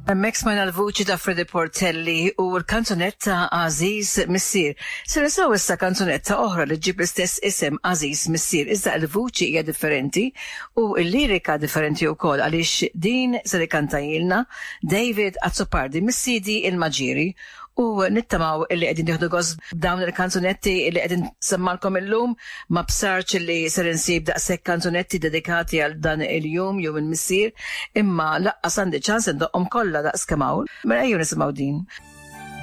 Hemmhekk smajna l-vuċi ta' Freddie Portelli u l-kanzunetta Għażiż Missier. Se nisimgħu issa kanzunetta oħra li ġġib l-istess isem Għażiż Missier, iżda l-vuċi hija differenti u l-lirika differenti wkoll għaliex din ser ikantajilna David Azzopardi mis-CD Il-Maġieri u nittamaw illi qegħdin tieħdu gost b'dawn il-kanzunetti illi qegħdin nsemmalkom illum. Ma bsartx illi ser insib daqshekk kanzunetti dedikati għal dan il-jum, Jum il-Missier, imma laqqas għandi ċans indoqqhom kollha daqs kemm hawn. Mela ejjew nisimgħu din.